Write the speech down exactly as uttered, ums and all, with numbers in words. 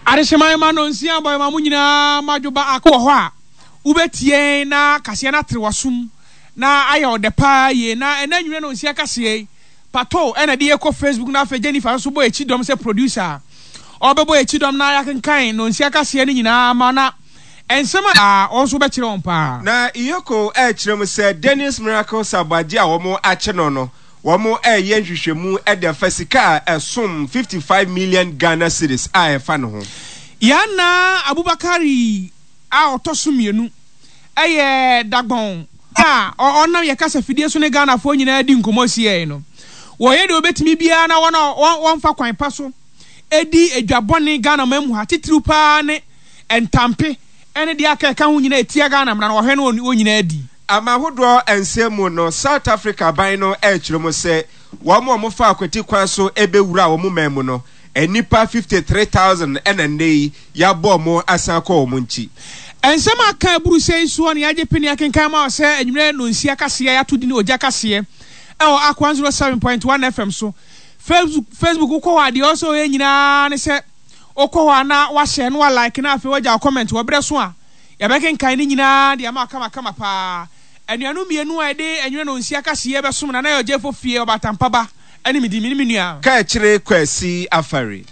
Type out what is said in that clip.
Adehyeman ma nonsia bɔ ma mo nyinaa madwoba ako wɔ hɔ a wobɛtie na kaseɛ no atere w'asom na ayɛ ɔdɛ paa yie. Na ɛna nwumere nonsia kaseɛ yi, Pato ɛna de yɛkɔ Facebook, na afei Jennifer nso bɔ akyi dɔm sɛ producer. Ɔbɛbɔ akyi dɔm na yɛakenkan nonsia kaseɛ no nyinaa ma na nsɛm a ɔno nso bɛkyerɛ wɔn paa. Na EOCO ɛrekyerɛ mu sɛ Dennis Miracles Aboagye a wɔn akye no no, wɔn ɛreyɛ nhwehwɛmu de afa sika a ɛsom fifty-five million Ghana cedis a ɛfa ne ho. Yana Abubakari a ɔtɔ so mmienu ɛyɛ Dagbɔn a ɔnam yɛ kasa fidie so ne Ghanafoɔ nyinaa di nkɔmmɔ sie no. Wɔyɛ deɛ wɔbɛtumi biara na wɔn a wɔmfa kwan pa so edi edwabɔne Ghana man mu ha, titiriw paa ne ntampe ɛne deɛ aka ɛka ho nyinaa etia Ghana mmara no, wɔhwɛ no wɔn nyinaa di. Ama ahodoɔ nsɛm mu no, South Africa ban no ɛrekyerɛ mu sɛ wɔn a wɔfa akwati kwan so ɛbɛwura wɔn man mu no, nnipa fifty-three thousand ɛna nnɛ yi yɛabɔ wɔn asan kɔ wɔn nkyi. Nsɛm a aka aburu sɛ yi soɔ ne yɛagye pene akenkan ma sɛ anwummerɛ nonsia kaseɛ yɛato di ne ogya kaseɛ ɛwɔ Ak one oh seven point one F M so. Facebook, Facebook wokɔ hɔ a, deɛ ɔsɛ ɔyɛ nyinaa ne sɛ wokɔ hɔ a na wahyɛ na walike na afei wagya wo comment wɔ berɛ so a yɛbɛkenkan ne nyinaa de ama kamakama paa. Anuanom mmienu a yɛde anwummerɛ nonsia kaseɛ bɛsom na na yɛ ɔgyefo fie ɔbatampaba ɛne me di me ne me nua Kaakyire Kwasi Afari.